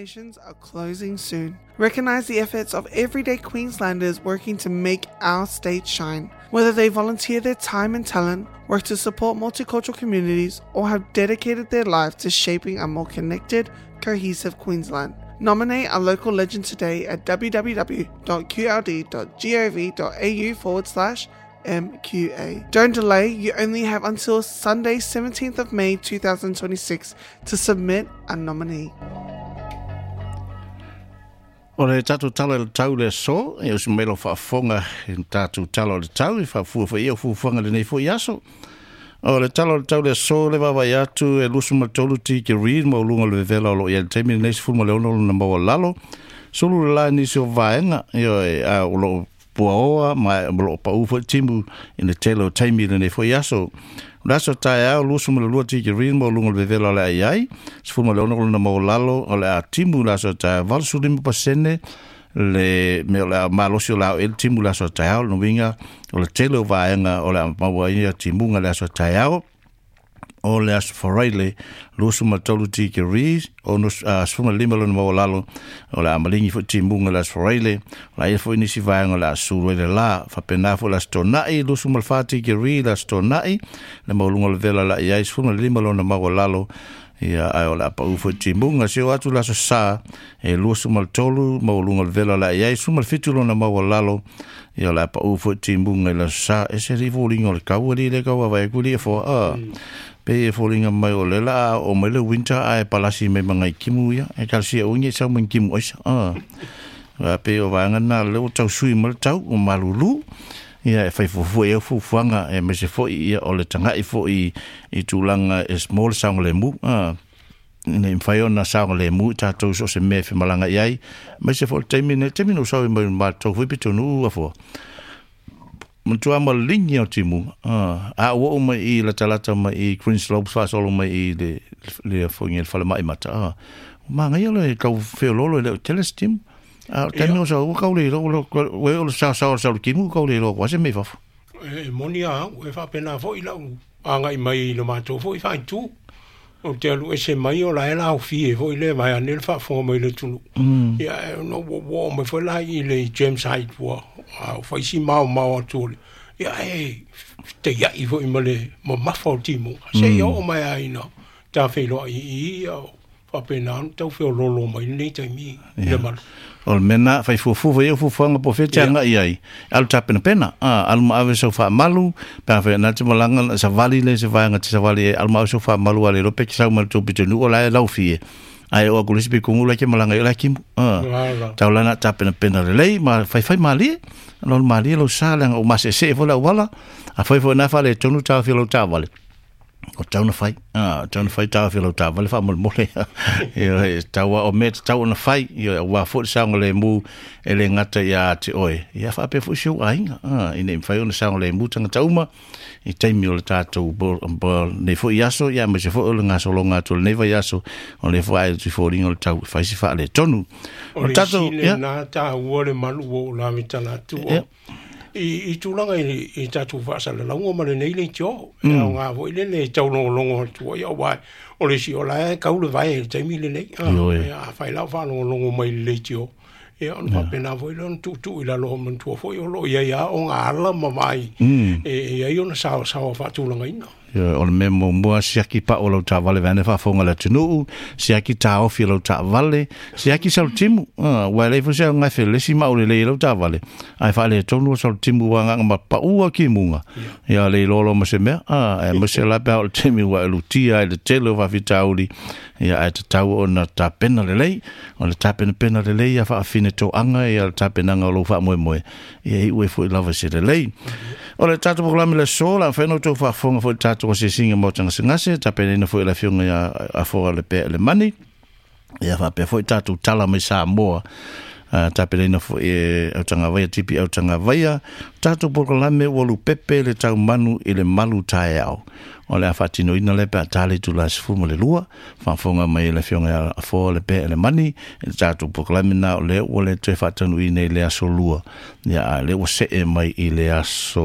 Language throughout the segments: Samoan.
Nominations are closing soon. Recognise the efforts of everyday Queenslanders working to make our state shine. Whether they volunteer their time and talent, work to support multicultural communities, or have dedicated their life to shaping a more connected, cohesive Queensland. Nominate a local legend today at www.qld.gov.au forward slash MQA. Don't delay, you only have until Sunday, 17th of May 2026 to submit a nominee. O le tatou tala i le tau le aso, e usu mai lau faafofoga i le tatou tala o le tau, i faafua foi ia o fuafuaga i lenei foi aso. O le tala o le tau le aso le vaavaai atu e 23 tikeri le maualuga o le vevela o lo o i ai i le taimi lenei 16 lona maualalo. Sulu le la i nisi o vaega, ioe, a o lo o puaoa ma o lo o pau foi timu i le tele o taimi i lenei foi aso. O le aso taeao 22 tikeri le maualuga o le vevela o le a i ai, 16 lona maualalo o le a timu i le aso taeao, 85% le mea o le a malosi o le a oo i ai le timu i le aso taeao. Lona uiga o le tele o vaega o le a maua ai ia timuga i le aso taeao. O le Aso Faraile, 23 degrees, 15 lona maualalo, o le a maligi foi timuga i le Aso Faraile, o le a i ai foi nisi vaega o le a sulu ai le la. Faapena foi le Aso Toonai, 24 degrees le Aso Toonai, le maualuga o le vela o le a i ai, 15 lona maualalo, ia, ae o le a pau foi timuga. Se o atu le Aso Sa, e 23 maualuga o le vela o le a i ai, 17 lona maualalo, ia o le a pau foi timuga i le Aso Sa. E se alii foliga o le kau alii le kau vaavaai atu alii e foa, a. Pei e foliga mai o lea o le a oo mai le winter ae palasi mai ma nai timu ia. E talosia ua nei sau ma ni timu aisa, a. A pei o vaega na lea ua tau sui mai le tau ua malulu. Ia e fai fuafua i ai fuafuaga aemaise foi ia o le tagai foi i tulaga e mo le saogalemu, a. Ina ia mafai ona saogalemu i tatou i so o se mea e femalaga i ai, aemaise foi o le taimi lenei, le taimi na ou sau ai mai matou foi pitonuu afoa, matua maligi o timuga. A ou oo mai i latalata mai i Green Slopes faasolo mai i le le foi le falemai mata, ua manaia le tau feoloolo e le o tele se timu. A o le taimi o sau ua kau le iloa, ua o le saosaoa o le sau o le timu ua kau le iloa ua se mea i fafo. E moni a au, e faapena foi lau agai mai i le matou foi faaitu. Ou te alu ese mai o la e laofie foi le vaeane le faafofoga mai le atunuu. Ia e ona ua oo mai foi la i le James Hyde ua fai si maomao atu o le ia e fetaiai foi ma le mamafa o timuga. Seia oo mai lava ina tafeiloai i i ia faapena ona tau feoloolo mai lenei taimi i le malu. O le mea lena, fai fuafua foi au fuafuaga po o fea e te agai ai, alu tapenapena, alu ma ave sau faamalu, pe afai o lena e te malaga, savali lea i se vaega e te savali ai, alu ma ave sau faamalu a le iloa pe te sau mai le tou pitonuu o la e laufie, ae oo atu i le isi pitonuu la e te malaga ai o la e timu. Tau la na tapenapena lelei ma faifai malie, lolo malie lou sa leaga ua maseesee foi le auala, afai foi o lena e faaletonu taofi o lau taavale, o tau na fai, o tau na fai taofi o lau taavale faamolemole. Ia, e tau o mea tatau ona fai, ia, aua foi le saogalemu e le gata ia te oe, ia faapea foi si ou aiga, ina ia mafai ona saogalemu tagata uma i taimi o le tatou nei foi aso, ia aemaise foi o le gasologa atu o lenei vaiaso, o lea foi ae atu i foliga o le tau e fai si faaletonu. O le isi lena taua le malu ua ou lavetala atu o i tulaga i tatou faasalalauga ma lenei leitio. E aoga foi lele e taulogologo atu ai, aua o le isi o la e kau le vae i le taimi lenei. Afai la o faalogologo mai i le leitio, ia ona faapena foi lea ona tuutuu i lalo, manatua foi o lo o i ai lava ona ala ma vaai e i ai ona saosaoa faatulagaina. Ioe, o le mea muamua, siaki pao lau taavale vaeane faafofoga a le atunuu, siaki taofi o lau taavale, siaki salutimu. Aua e leai foi se aoga e felesi ma aulelei ai lau taavale, ae faaletonu salutimu ua agaga ma pau lava kimuga. Ia le iloa loa ma se mea, aemaise la pe a oo i le taimi ua e lutia ai i le tele o faafitauli, ia ae tatau ona tapena lelei. O le tapenapena lelei ia faafine toaga ia le tapenaga o lou faamoemoe, ia iu ai foi lava i se lelei. O le tatou polokalame le aso, o le a mafai ona outou faafofoga foi i le tatou asiasiga Maota Gasegase, tapenaina foi e le Afioga ia Afoa Lepea Lemani, ia faapea foi tatou tala mai Samoa, Tapenaina foi e Autagavaia, TP Autagavaia, tatou polokalame ua lupepe le taumanu i le malu taeao. O le a faatinoina lea pe a ta le itula e 12, faafofoga mai e le Afioga ia Afoa le Pea Elemani i le tatou polokalame lena o lea ua le toe faataunuuina i le aso Lua, ia a o lea ua see mai i le aso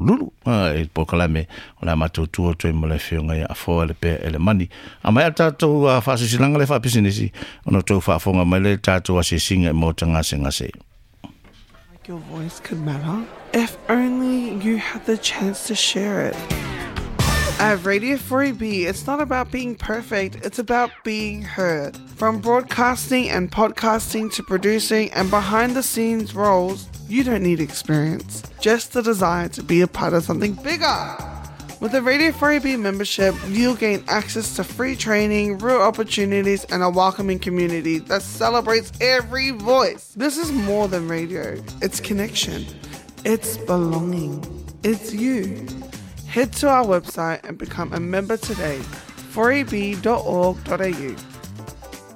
Lulu i le polokalame o le a matou tu atu ai ma le Afioga ia Afoa le Pea Elemani. A maea le tatou faasilasilaga lea faapisinisi, ona outou faafofoga mai lea i le tatou asiasiga i Maota Gasegase. Like your voice could matter if only you had the chance to share it. At Radio 4AB, it's not about being perfect, it's about being heard. From broadcasting and podcasting to producing and behind the scenes roles, you don't need experience, just the desire to be a part of something bigger. With a Radio 4AB membership, you'll gain access to free training, real opportunities, and a welcoming community that celebrates every voice. This is more than radio, it's connection, it's belonging, it's you. Head to our website and become a member today, 4ab.org.au.